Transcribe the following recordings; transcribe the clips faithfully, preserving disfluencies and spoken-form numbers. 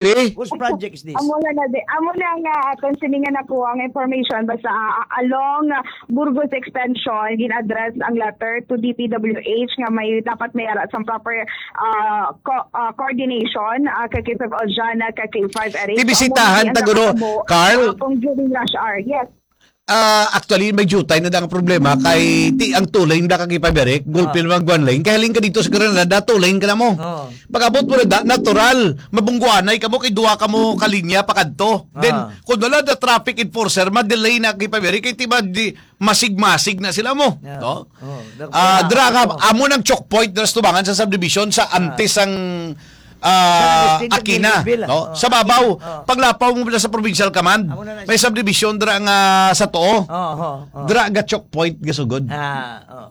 Whose project is this? Amo na na di, amo na nga aton sini nga nakuha ang information, basta, ah, along, ah, Burgos Extension, gin-address ang letter to D P W H nga may, dapat may ara sang proper, ah, co-, ah, coordination, ah, kay K five Aljan, ah, kay K five Eric. So, amo na Ibisitahan ang ta guro, nakatabo, Carl? Ah, kung during rush hour. Yes. Ah, actually, may jutay na da ang problema kay ti ang two lane da ka K five Eric, gulpil Ah. mag one lane. Kay halin ka dito sa Granada, two lane ka na mo. Oo. Pag-abot mo na da, natural, mabungguanay ka mo, kay duha ka mo kalinya pa kadto. Then, Ah. kung wala na traffic enforcer, ma-delay na K five Eric, kay ti ba di, masig-masig na sila mo. Yeah. No? Oo, dak-, Ah, wala dra ka, ako. Amo nang choke point, dra sa tubangan sa subdivision, sa Ah. antes ang, ah, San Agustin, Aquina, Miguel, no? ah, Sa babaw, Aquina, oh. paglapaw mo na sa Provincial Command, Amo na na may siya. subdivision dra nga sa tuo. Oo, oo, oo. Dra ga choke point ga sugod. Ah, oo.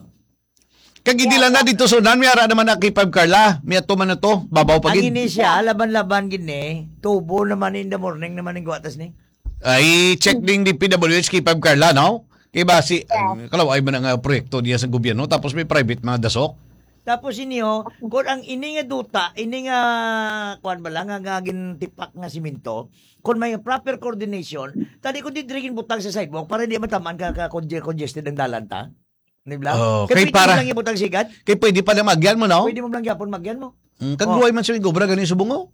Kag hindi Yeah, lang na yeah. dito sunan, may ara naman na K five Carla, may ato man na to, babaw pa Ang gid. ini siya, laban-laban gid ni, tubo naman in the morning naman in guwatas ni. Ay, check ding D P W H K five Carla, no? Kay basi, Yeah. ang kalaw ay man ang, ah, proyekto niya sa gobyerno, tapos may private mga dasok. Tapos ini, oh, kung ang ini nga duta, ini nga, kuwan ba lang, nga, nga gintipak nga simento, kung may proper coordination, tadi ko di diri ginbutang sa sidewalk para di matamaan ka, ka conge-, congested ang dalan ta. Di ba? Oh, Kay kay pwede para, mo lang ibutang sigad. kay pwede pa na magyan mo, no? Pwede mo lang gyapon magyan mo. Mm, kag Oh. luway man sa may gobra, gani subong, oh.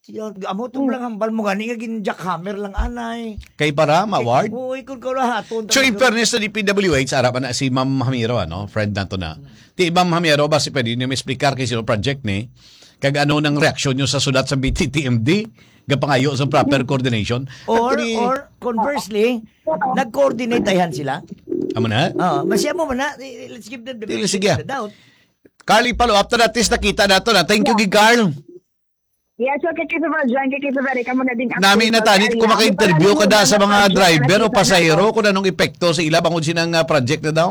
Siya, amo to Hmm. lang hambal mo gani nga gin-jackhammer lang anay. Kay para ma-award? Oo, ikon ko rahaton So, in talaga. fairness sa D P W H, ara pa na si Ma'am Hamiro, ano? Friend nato na. Hmm. Ti Ma'am Hamiro, basi pwede niyo ma-explicar kay sino project ni? Kag ano nang reaksyon niyo sa sulat sa B T T M D? Gapangayo sa proper Hmm. coordination? Or, Actually, or conversely, nag-coordinate ayhan sila? Amo na? Oo, basi amo man na. I-, let's give them the Dili, benefit sige. of the doubt. Carl, i-follow up ta na, at least nakita nato na. Thank you, Yeah. gid, Carl. Yes, so, kay K five Aljan, kay K five Eric, amo na ding Nami update na sa tani, area. kung maka-interview ka da sa mga Para driver o sa pasahero, kung anong epekto sa ila bangod sinang, ah, project na daw.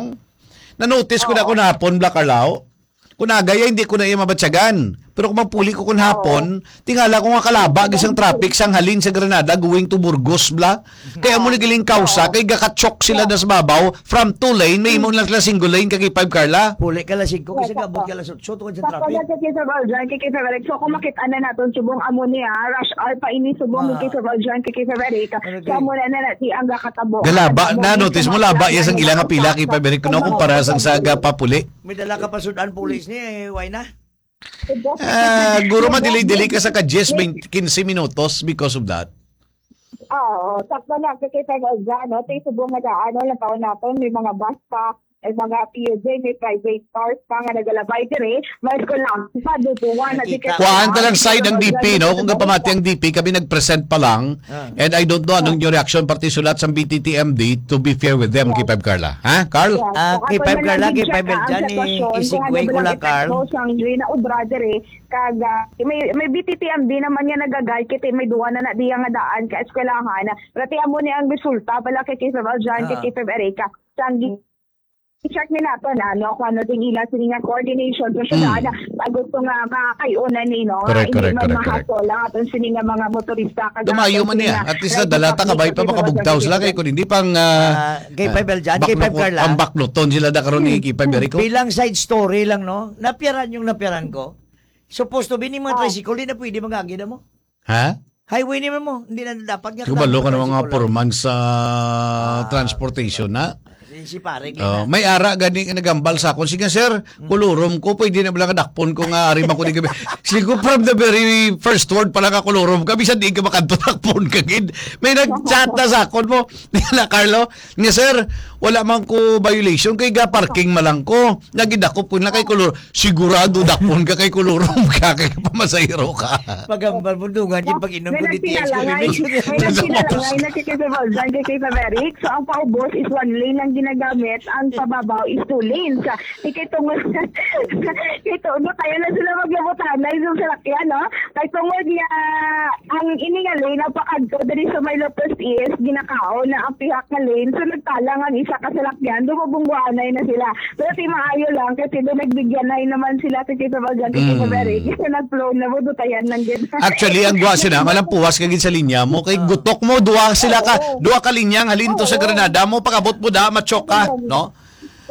Na-notice ko na Oo. kung hapon, Black Arlao. Kung agay, hindi ko na iya mabatyagan. Pero kung magpuli ko kung Oo. hapon, tingala ko nga kalaba, gisang traffic, sang halin sa Granada, going to Burgos, bla. Kaya mo Oo. nagiling kausa, Oo. kay gakachok sila Yeah. na sa babaw, from two lane, may imo lang sila single lane, kag five, Carla. Puli ka la singko, kasi Yes, gabot opo. ka la So, tungod sa Sa traffic. pala sa Quezon Oriental, kay Quezon Oriental. So, kung makita na naton, subong amo ni, ah, rush hour pa ini, subong ni Ah. Quezon Oriental, kay Quezon Oriental. Okay. So, amo na na, na, si ang gakatabo. Galaba, Ang na-notice mo, laba, yes, ang ilang apila, kay Pabrik, no, kumpara sang sa gapapuli. May dala ka pa sudan, pulis ni, eh, why na? Ah, guro, madili-dili ka sa ka diyes, baynte, kinse minutos because of that. Oo, sakto na, kay Quezon Oriental, no? Tay subong nga daan, no? Labaw naton, may mga bus pa. May mga P U J, may private cars pa nga nagalabay dire. Mas ko lang, sa duduwa na Nakita. Kuhaan ta lang side ang D P, no? Kung kapamati ang D P, kami nag-present pa lang. Ah. And I don't know anong Ah. yung reaction, pati sulat sa B T T M D, to be fair with them, Yeah. K five Carla. Ha, Carl? Yeah. Ah, So, K five ako na Carla, lang K five din siya, Eljan, ang sitwasyon, i-segue kung ano ko lang, lang epekto Carl. Sang diri na obra dire, kag, ah, may, may B T T M D naman nga nagagay, kay may duwa na na diya nga daan ka eskwelahan. Pero ti amo ni ang resulta pala kay K five Eljan, kay Ah. K five Erica. Sang gi-, I-check ni nato na, no, kung ano din ila sini nga coordination sa syudad, Mm. pag gusto nga makakaiunan ni, no, Correct, hindi correct, man correct, correct. mahato lang aton sini nga mga motorista, kag Dumayo aton man sini niya. nga At least, rider nadala ta, public kabay pa sa makabugtaw sila, kay kung hindi pang, ah, Ah, kay ah, Five Eljan, kay Five baklo-, Carla. pang bakloton sila da karon ni Hmm. Kay Five Erico. Bilang side story lang, no, napiaran yung napiaran ko. Supposed to be ni mga Oh. tricycle, di na pwede mag-agi na mo. Ha? Highway naman mo, hindi na dapat nga Kabalo ka ng mga tricycle lang. Purman sa Ah. transportation, na? Si, si pare, Oh, kaya may ara gani nga nagambal sa akon. Sige, sir, kolorom ko, pwede na bala kadakpon ko nga ari man ko ni gabi. Sige ko, from the very first word pala ka kolorom ka, bisan di ka makadto, dakpon ka gid. May nag-chat na sa akon mo. Nila, Carlo, nga, "Sir, wala man ko violation, kay ga-parking man lang ko. Nagidakop ko na kay kolor." Sigurado dakpon ka kay kolorom ka, kay pamasahero ka. Pagambal mo, dungan yung pag-inom ko May di T X nagpinalangay, ko may nagpinalangay na si Kuya Roldan kay Kuya Eric. So, ang paubos is one lane ang ginagamit, ang pababaw is two lanes. Di kay tungod, kay tungod, kaya na sila maglabutanay sa salakyan, no? Kay tungod nga, ang ini nga lane, ang pakadto diri sa may Lopez East, ginakaon na ang pihak nga lane. So, nagtalang ang isa ka salakyan, dumabungguanay na sila. Pero ti maayo lang kasi do nagbigyanay naman sila sa Quezon Oriental, Mm. Quezon City. Kasi nag-flow na mo, dutayan lang din. Actually, ang guwa sila, malampuwas ka gid sa linya mo, kay Ah. gutok mo, duha sila ka, Oo. duha ka linya nga halin to sa Oo. Granada mo, pag-abot mo da, matsok ka, Oo. no?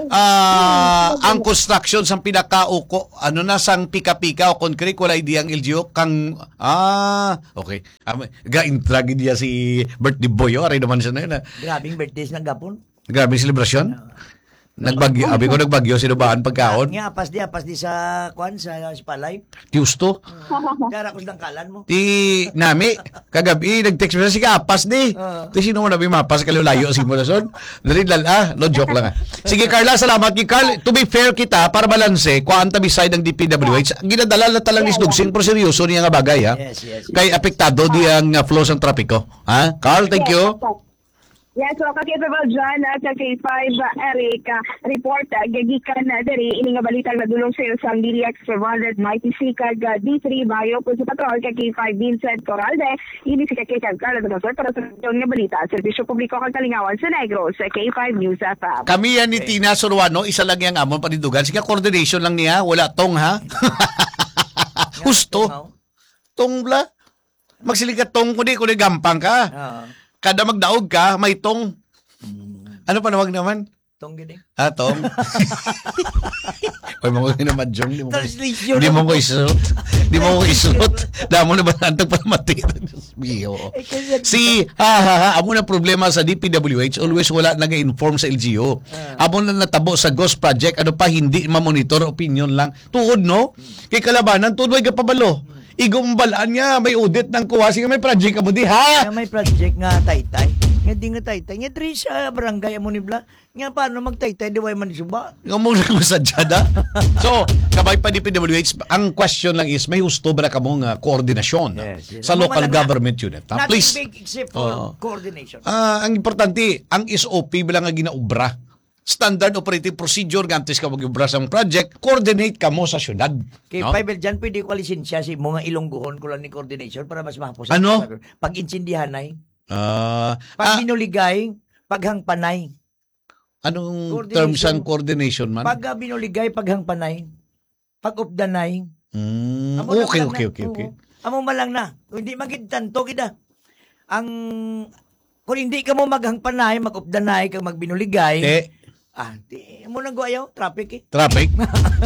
Ah, ang construction sang pinakauko, ano na, sang pika-pika o concrete, wala idea ang L G U kang, ah, okay. Am, ga-intra gid niya si birthday boy, oh, aray naman siya na yun, ah. Grabing birthday sa nagapon. Grabe selebrasyon. Ah. Nagbagyo, abi ko nagbagyo, sinubaan pagkaon. Nga, apas di, apas di sa, kwan, sa, sa palay. Tiusto. Dara ko sa dangkalan mo. Ti nami, kagabi, nag-text mo, "Sige, apas di." Ah. Ti sino mo na mapas ka layo sa imo na son? Dali lang, ah. No, joke lang, ah. Sige, Carla, salamat kay Carl. To be fair kita, para balanse, kuan ta beside ang D P W H. Ginadala na talang Yeah, isdugsing, yeah. Pero seryoso niya nga bagay, ha? Yes, yes, yes. Kay apektado di ang, ah, flow sang trapiko. Ha? Carl, thank Yes, you. Yes, so, ka K five John at ka K five Eric, ah, report, ah, gagikan na diri, ini nga balita nga dulong sa iyo sang D D X five hundred, Mighty C, kag, ah, D three Bayo, kun sa patrol, ka K five Vincent Coralde, ini si ka K five Carla Damasoy para sa nga balita, serbisyo publiko kag kalingawan sa Negros, sa K five News F M. Kami yan ni Okay. Tina Suruano, isa lang yang amon panindugan. Sige, coordination lang niya, wala tong, ha? Husto. Tong, oh. Tong bla. Magsiling ka tong, kundi, kundi gampang ka. Oo. Kada magdaog ka, may tong. Mm. Ano pa nawag naman? Tong gini. Ah, tong. Oy, mga ginamadjong, di mo ko is-, Translation. Di mo ko isulot. Di mo ko isulot. Damo na ba nantag para mati? Diyos mio. Eh, kasi Si, ha, ha, ha, amo na problema sa D P W H, always wala nag-inform sa L G U. Ah. Amo na natabo sa ghost project, ano pa, hindi ma-monitor, opinion lang. Tuod, no? Hmm. Kay kalabanan, tuod, way kapabalo. Hmm. Igumbalaan niya, may audit nang kuha. Sige, may project ka mo di, ha? Kaya may project nga taytay. Nga di nga taytay. Nga diri sa barangay amo ni Bla. Nga paano magtaytay, di way man suba? Nga mo lang masadya na. So, kabay pa D P W H, ang question lang is, may husto ba na kamo nga koordinasyon Yes, yes. sa Amo local man lang na. government unit? Ha? Nothing Please. big except for Oo. coordination. Ah, ang importante, ang S O P ba lang nga ginaubra? Standard Operating Procedure, nga antes ka mag-obra sa mga project, coordinate ka mo sa syudad, Kay no? Fiber dyan, pwede ko lisensya si mga Ilonggohon ko lang ni coordination para mas mahapos Ano? ang pag-intindihanay, Ah, pag ah, binuligay, paghangpanay. Anong Coordination. terms ang coordination man? Pag, ah, binuligay, paghangpanay. Pag-updanay. Mm, Amo na okay, lang okay, na. okay, okay. Oo. Amo man lang na. Kung hindi man gid tanto gid, ah. Ang, kung hindi ka mo maghangpanay, mag-updanay, kag magbinuligay, Eh. ah, di, amo nang guayaw, traffic eh. Traffic?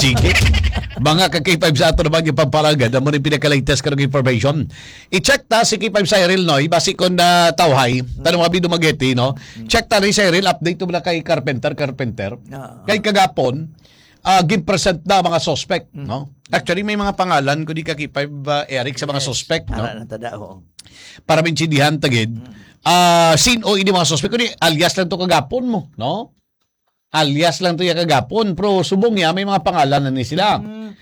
Sige. Mga ka K five sa ato naman yung pampalagad, amo rin pinaka-latest karong information. I-check ta si K five Cyril, no? Basi kung natawhay, Mm. tanong mga Dumaguete, no? Mm. Check ta ni Cyril, update mo na kay Carpenter, Carpenter. Oo. Kay kagapon, ah, gin-present na mga suspect, Mm. no? Actually, may mga pangalan, kundi ka K five, ah, Eric, sa mga Yes. suspect, no? Ara na tada, oo. Para maintindihan ta gid, Mm. ah, sin-o ini mga suspect, kundi alias lang to kagapon mo, no? Alias lang to ya kagapon, pero subong ya, may mga pangalan na ni sila. Mm.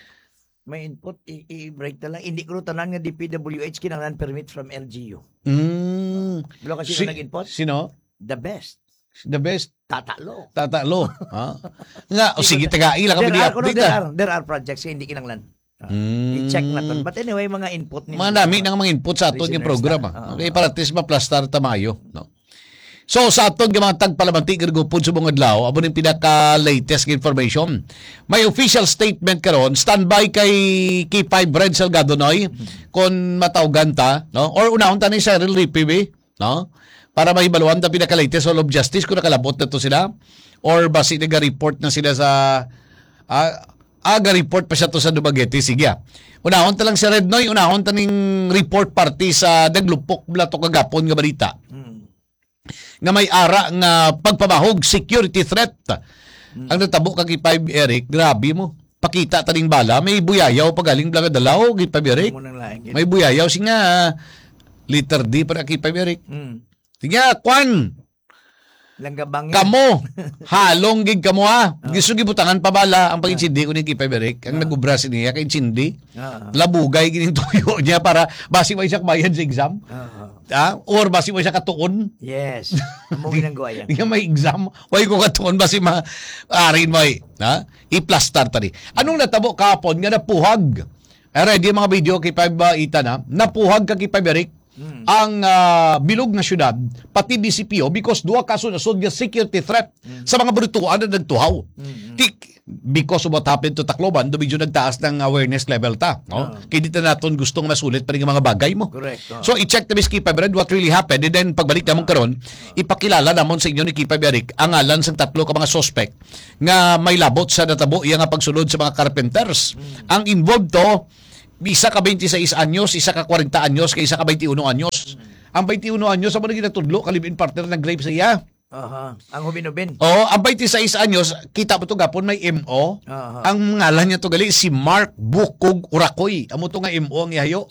May input, i-, i-break na lang. Hindi ko tanan nga D P W H kinahanglan permit from L G U. Mm. Wala kasi Si-, nag-input? sino? The best. The best. Tatalo. Tatalo. Ha? Nga, o Hindi sige, ko na tagai lang kami There are, kuno, di-update, there ah. are, there are projects nga hindi kinahanglan. Ah, Mm. i-check na to. But anyway, mga input ni Mga nami ng mga input sa aton yung Listeners programa. na. Ah, Okay, ah. para at least maplastar ta maayo, no? So, sa aton nga mga tagpalamati, karugupon sa mga adlaw, amo ning pinaka-latest nga information. May official statement karon, standby kay K five Red Salgado, Noy, Mm. kung matawgan ta, no? Or unahon ta ni Cyril Ripibi, no? Para mahibaluan ta pinaka-latest Hall of Justice kung nakalabot na to sila or basi naga-report na sila sa, ah, ah, ga-report pa siya to sa Dumaguete. Sige, ah. Unahon ta lang si Red Noy, unahon ta ning report parte sa naglupok bala to kagapon nga balita. Mm. Nga may ara nga pagpamahog security threat Mm. ang natabo kag K five Eric. Grabe mo. Pakita ta ning bala, may buyayaw pa galing bala nga dalaw, K five Eric. Amo nang lain gid. May buyayaw, si nga, letter D para kay K five Eric. Mm. Sige, kwan. Langgabangin. Kamo, halong gid kamo, ha. Ah. Gusto gibutangan pa bala ang Ah. pag-intsindi ko ni K five Eric. Ang Ah. nag-ubra sini, kay intsindi. Ah. Labugay gid ang tuyo niya para basi may siya bayad sa exam. Ah. Ah, or basi mo siya katuon. Yes. Amo ginang guwaya. Di nga may exam. Way ko katuon, basi ma-, arin mo eh. Ha? I-plastar tani. Anong natabo kahapon nga napuhag? Ay, ready mga video kay Five, ah, Ethan, ha? Napuhag ka kay Five Eric. Mm. ang, ah, bilog nga syudad, pati B C P O, because duha ka sunod-sunod nga security threat Mm. sa mga brutuan na nagtuhaw. Mm. Ti-, because of what happened to Tacloban, do medyo nagtaas ng awareness level ta, no? Oo. Kaya di ta naton gustong masulit pa rin ang mga bagay mo. Correct, oo. So, i-check ta, Miss Kipay Brad, what really happened. And then, pagbalik namon karon, ipakilala namon sa inyo ni Kipay Eric ang ngalan sang tatlo ka mga suspect nga may labot sa natabo iya nga pagsulod sa mga carpenters. Mm. Ang involved to, isa ka twenty-six anyos, isa ka forty anyos, kay isa ka twenty-one anyos. Mm. Ang twenty-one anyos, amo na ginatudlo ka live-in partner nag-rape sa iya. Aha, ang hubin-hubin. Oh, ang twenty-six anyos, kita mo to gapon, may M O. Aha. Ang ngalan niya to gali, si Mark Bukog Urakoy. Amo to nga M O ang ihayo.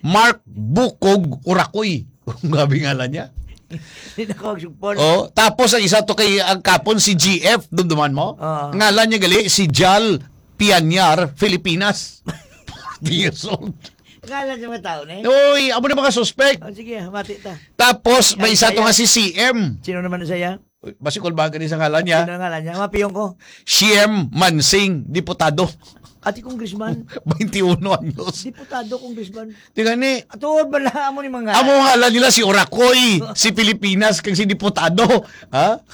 Mark Bukog Urakoy. Grabe ngalan niya. Hindi na ko magsugpon. Oh, tapos ang isa to kay ang kapon si G F, dumduman mo? Ah. Ngalan niya gali si Jal Pianyar, Filipinas. Forty years old. Ngalan sa mga tao na eh. Uy, amo na mga suspect. Oh, sige, mati ta. Tapos, may Ang isa to saya. nga si C M. Sino naman ang saya? Uy, basi kulbahan ka ni sa ngalan niya. Sino ang ngalan niya? Mapiyong ko. C M Mansing, diputado. Ati congressman. Twenty-one anyos. Diputado, congressman. Tingnan ni, Atuod ba na amo ni mga amo ngalan nila si Oracoy, si Pilipinas, kag si diputado. Ha?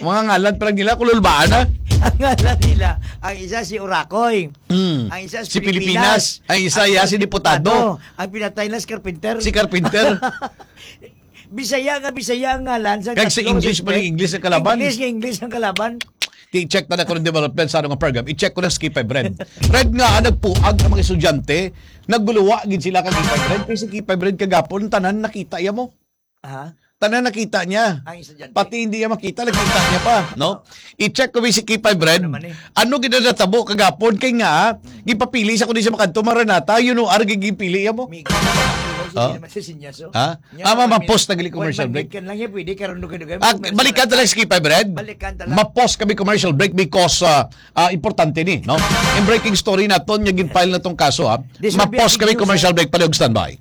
Mga ngalan pa lang nila, kululbaan na. Ang ngalan nila, ang isa si Oracoy. Mm. Ang isa si Si Pilipinas. Pilipinas. Ang isa, Ang ya, isa si si diputado. Diputado. Ang pinatay na si Carpenter. Si Carpenter. Bisaya nga Bisaya ang ngalan sa Kag sa tatlo English pa suspect. Ning English ang kalaban. English nga English ang kalaban. I-check na na ko ng development sa ano nga program. I-check ko na sa Kipay Brand. Red nga, ah, nagpuag ang mga estudyante. Nagbuluwa gid sila kag Kipay Brand. Kay si Kipay Brand kagapon, tanan nakita iya mo. Ha? Tanan nakita niya. Ang estudyante. Pati hindi niya makita, nakita niya pa, no? I-check ko si Kipay Brand. Ano naman eh? Ano gid ang natabo kagapon? Kay nga, gipapili sa kundi sa makanto, Maranata, you know, arag gipili iya mo. Migo. Hindi Ha? naman si Sinyaso. Ha? Nya, Ah, ma-, one minute. ma-pause na gali commercial One break. minute ka lang, ya, pwede ka rin dugay-dugay. Ah, Commercial balikan break. ta lang si Kipay Brand. Balikan ta lang. Ma-pause kami commercial break because, ah, ah, importante ni, no? Yung breaking story naton, yung gin-file na tong kaso, ha? This will be a Ma-pause big kami news, commercial ha? break, palihog standby.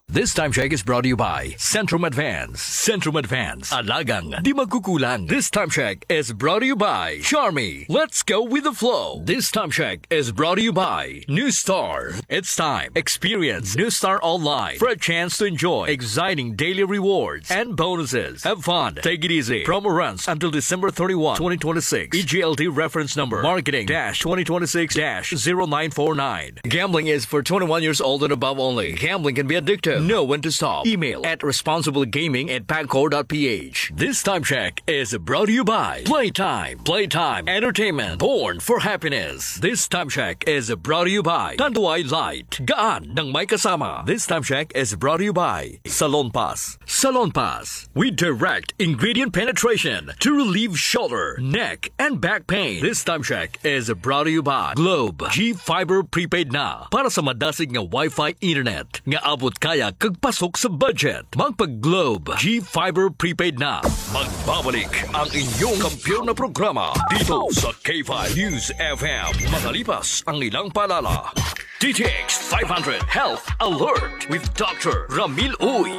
This time check is brought to you by Centrum Advance. Centrum Advance. Alagang di magkukulang. This time check is brought to you by Charmy. Let's go with the flow. This time check is brought to you by New Star. It's time. Experience New Star Online for a chance to enjoy exciting daily rewards and bonuses. Have fun. Take it easy. Promo runs until December thirty-one, twenty twenty-six. E G L T reference number. Marketing dash twenty twenty-six dash zero nine four nine. Gambling is for twenty-one years old and above only. Gambling can be addictive. Know when to stop. Email at responsiblegaming at pagcor dot P H. This time check is brought to you by Playtime. Playtime Entertainment. Born for happiness. This time check is brought to you by Tanduay Light. Gaan ng may kasama. This time check is brought to you by Salon Pass. Salon Pass. We direct ingredient penetration to relieve shoulder, neck, and back pain. This time check is brought to you by Globe G Fiber Prepaid na para sa madasig nga Wi-Fi internet nga abot kaya kag pasok sa budget. Magpag Globe G Fiber Prepaid na. Magbabalik ang inyong kampiyon na programa dito sa K five News F M. Makalipas ang ilang paalala. D T X five hundred Health Alert with Doctor Ramil Uy.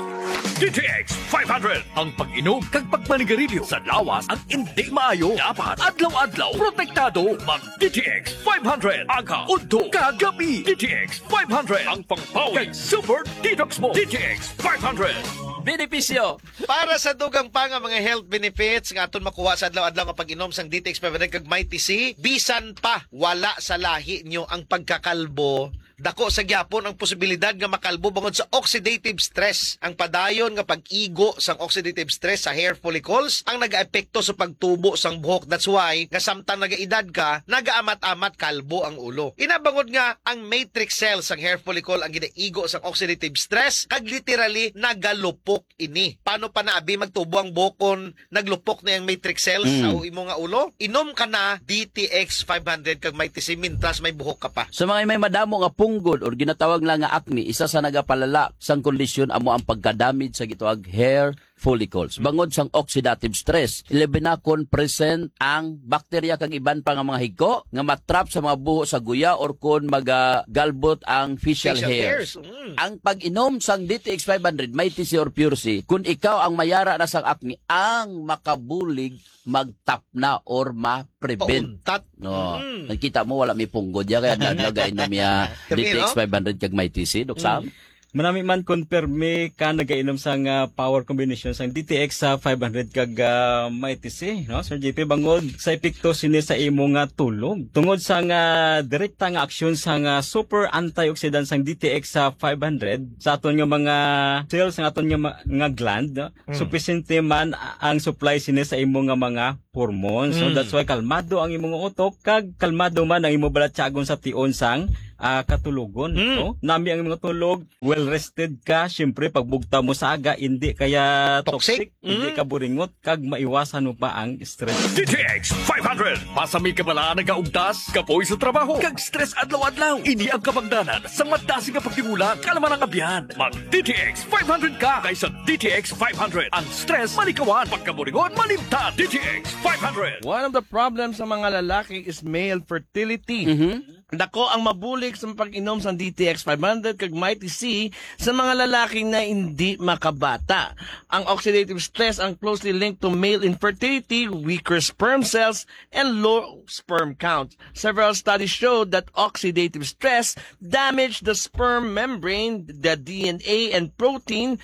D T X five hundred, ang pag-inom kag pagmanigarilyo sa lawas ang hindi maayo. Dapat adlaw-adlaw protektado. Mag D T X five hundred, aga, udto, kag gabi. D T X five hundred, ang pangpawi kag super detox mo. D T X five hundred. Benepisyo. Para sa dugang pa nga mga health benefits nga aton makuha sa adlaw-adlaw nga pag-inom sang D T X five hundred kag Mighty C, bisan pa wala sa lahi nyo ang pagkakalbo, dako sa gyapon ang posibilidad nga makalbo bangod sa oxidative stress. Ang padayon nga pag-igo sang oxidative stress sa hair follicles ang nagaepekto sa pagtubo sang buhok. That's why nga samtang nagaedad ka, nagaamat-amat kalbo ang ulo. Ina bangod nga ang matrix cells sang hair follicle ang ginaigo sang oxidative stress kag literally nagalupok ini. Paano pa na abi magtubo ang buhok kon naglupok na ang matrix cells Mm. sa imo nga ulo? Inom ka na D T X five hundred kag Mighty C mintras may buhok ka pa. Sa mga may madamo nga punggod or ginatawag lang nga acne, isa sa nagapalala sang kondisyon amo ang pagkadamage sa gitawag hair follicles. Bangod sang oxidative stress, ilabi na kon present ang bakterya kag iban pa nga mga higko nga matrap sa mga buho sa guya or kon magagalbot ang facial Facial hairs. hairs, mm. Ang pag-inom sang D T X five hundred, Mighty C or Pure C, kung ikaw ang mayara na sang acne, ang makabulig magtapna or ma-prevent. Pauntat. No. Mm. Nakita mo, wala may punggod ya, kaya adlaw-adlaw gainom ya. Kaya D T X five hundred kag Mighty C, Doc Sam? Manami man kon permi ka nagainom sang, ah, power combination sang D T X sa five hundred kag, ah, Mighty C, no? Sir J P, bangod sa epekto sini sa imo nga tulog. Tungod sa nga direkta nga aksyon sa nga super antioxidant sang D T X sa five hundred, sa aton nga mga cells, sa aton nga ma-, nga gland, no? Mm. Supisente man a-, ang supply sini sa imo nga mga hormones. So, mm, that's why kalmado ang imo nga utok, kag kalmado man ang imo balatyagon sa tion sang, ah, katulogon, mm, no? Nami ang imo tulog, well rested ka, siyempre, pagbugta mo sa aga, hindi kaya toxic, toxic, hindi, mm, ka buringot, kag maiwasan mo pa ang stress. D T X five hundred, pasami ka bala nagaugtas, kapoy sa trabaho, kag stress adlaw-adlaw. Ini ang kabangdanan sa madasig nga pagtimulan, kalaman ang abyan. Mag D T X five hundred ka, kay sa D T X five hundred, ang stress malikawan, pagkaburingon malimtan. D T X five hundred. One of the problems sa mga lalaki is male fertility. Mhm. Dako ang mabulig sa pag-inom sa D T X five hundred kag Mighty C sa mga lalaki na hindi makabata. Ang oxidative stress ang closely linked to male infertility, weaker sperm cells, and low sperm count. Several studies show that oxidative stress damage the sperm membrane, the D N A, and protein.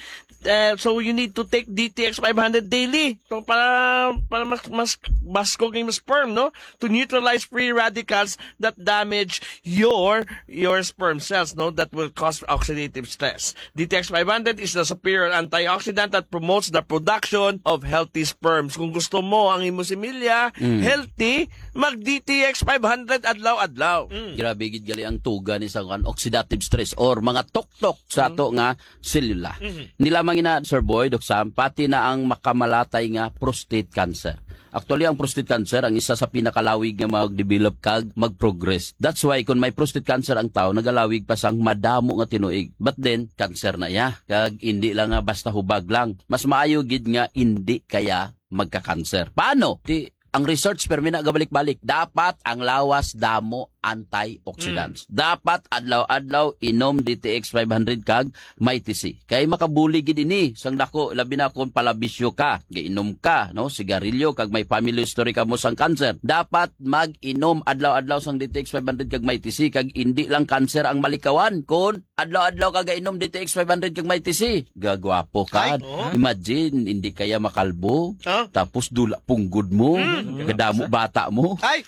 Uh, so you need to take D T X five hundred daily. So para para mas mas baskog ang sperm, no? To neutralize free radicals that damage your your sperm cells, no? That will cause oxidative stress. D T X five hundred is the superior antioxidant that promotes the production of healthy sperms. Kung gusto mo ang imo similya, mm, healthy, mag D T X five hundred adlaw-adlaw. Mm. Grabe gid gali ang tuga ni sa kuan, oxidative stress or mga tuktok sa, mm, ato nga selula. Mhm. Ni lamang ina, Sir Boy, Doc Sam, pati na ang makamalatay nga prostate cancer. Actually, ang prostate cancer ang isa sa pinakalawig nga mag-develop kag mag-progress. That's why kung may prostate cancer ang tao, nagalawig pa sang madamo nga tinuig. But then, cancer na iya. Kag hindi lang nga basta hubag lang. Mas maayo gid nga hindi kaya magka-cancer. Paano? Ti, ang research, permi na gabalik-balik. Dapat ang lawas damo antioxidants. Mm. Dapat adlaw-adlaw inom D T X five hundred kag Mighty C. Kay makabulig gid ini sang dako, labi na kung palabisyo ka, gainom ka, no, sigarilyo, kag may family history ka mo sang cancer. Dapat mag-inom adlaw-adlaw sang D T X five hundred kag Mighty C, kag indi lang cancer ang malikawan kon adlaw-adlaw ka gainom D T X five hundred kag Mighty C. Gagwapo ka. Ay, oo. Imagine, hindi kaya makalbo. Ah. Tapos dula punggod mo. Mm. Kadamo bata mo. Ay!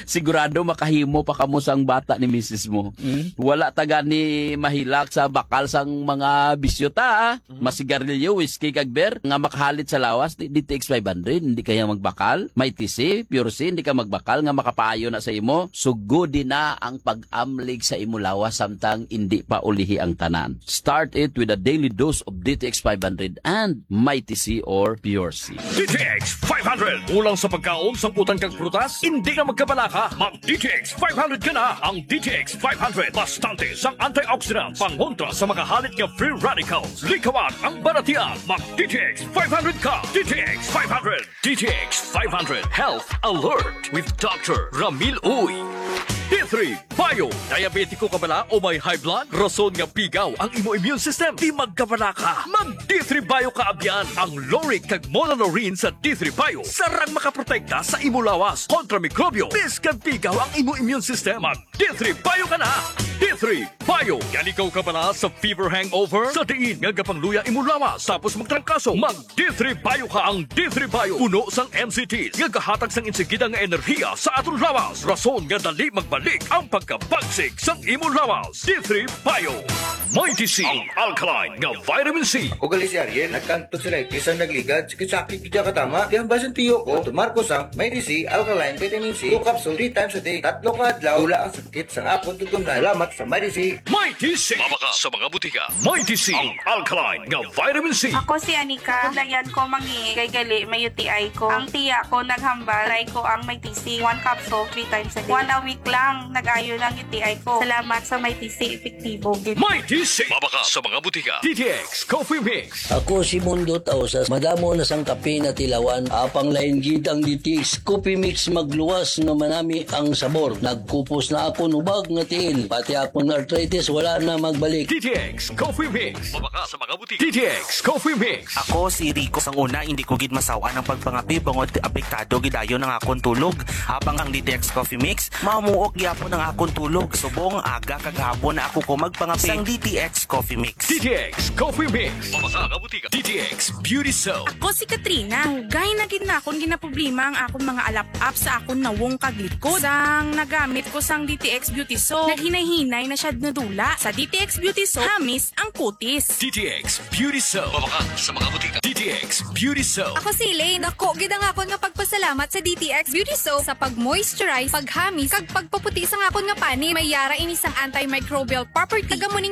Sigurado makahimo pa kamo sang bata ni misis mo. Mm. Wala ta gani mahilak sa bakal sang mga bisyo ta, ah. Mhm. Masigarilyo, whiskey, kag beer nga makahalit sa lawas, di, D T X five hundred, hindi kaya magbakal. Mighty C, Pure C, hindi ka magbakal nga makapaayo na sa imo. Sugodi na ang pag-amlig sa imo lawas samtang hindi pa ulihi ang tanan. Start it with a daily dose of D T X five hundred and Mighty C or Pure C. D T X five hundred. Kulang sa pagkaon, sangkutan kag prutas? Hindi na magkabalaka. Mag D T X five hundred ka na. Ang D T X five hundred, bastante sang antioxidants, pangontra sa mga halit nga free radicals. Likawan ang balatian. Mag D T X five hundred ka. D T X five hundred. D T X five hundred Health Alert with Doctor Ramil Uy. D three Bio. Diabetiko ka bala o may high blood? Rason nga pigaw ang imo immune system. Di magkabalaka. Mag D three Bio ka, abyan. Ang lauric kag monolaurin sa D three Bio sarang makaprotekta sa imo lawas kontra mikrobyo. Bisan pigaw ang imo immune system, mag D three Bio ka na. D three Bio. Galikaw ka bala sa fever hangover? Sa diin nga gapangluya imo lawas tapos magtrangkaso? Mag D three Bio ka. Ang D three Bio puno sang M C Ts nga gahatag sang insigida nga enerhiya sa aton lawas, rason nga dali magbalik ang pagkabagsik sang imo lawas. D three Bio. Mighty C, ang alkaline nga vitamin C. Ako gali si Ariel, nagka-tonsillitis ang nagligad, sakit-sakit gid katama. Di ang basin tiyo ko, tumar ko sang Mighty C alkaline vitamin C, two capsule, three times a day. Tatlo ka adlaw, wala ang sakit sang akon tutunlan. Salamat sa Mighty C. Mighty C. Mabakal sa mga butika. Mighty C, ang alkaline nga vitamin C. Ako si Anika. Layan ko mangi kay gali may U T I ko. Ang tiya ko naghambal, try ko ang Mighty C. One capsule, three times a day. One a week lang, nag-ayo lang U T I ko. Salamat sa Mighty C, epektibo gid. Mighty C. Mabakal sa mga butika. D T X Coffee Mix. Ako si Mundo Tausas. Madamo na sang kape na tilawan. Apang lain gid ang D T X Coffee Mix, magluwas na manami ang sabor. Nagkupos na ako nubag nga tiil. Pati akong arthritis wala na magbalik. D T X Coffee Mix. Mabakal sa mga butika. D T X Coffee Mix. Ako si Rico. Sang una, hindi ko gid masaw-an ang pagpangape bangod apektado gid dayon ang akon tulog. Apang ang D T X Coffee Mix, Amuok gyapon ang akon tulog. Subong aga kag hapon na ako ko magpangape sang D T X Coffee Mix. D T X Coffee Mix. Pamaka nga butika. D T X Beauty Soap. Ako si Katrina. Dugay na gid nakon ginaproblema ang akon mga alap-ap sa akon nawong kag likod. Sang nagamit ko sang D T X Beauty Soap, naghinay-hinay na siya nadula. Sa D T X Beauty Soap, hamis ang kutis. D T X Beauty Soap. Pamaka sa mga butika. D T X Beauty Soap. Ako si Elaine. Dako gid ang akon nga pagpasalamat sa D T X Beauty Soap sa pag-moisturize, paghamis, kag pagpaputi sang akon nga panit. May yara ini sang antimicrobial property. Taga mo ning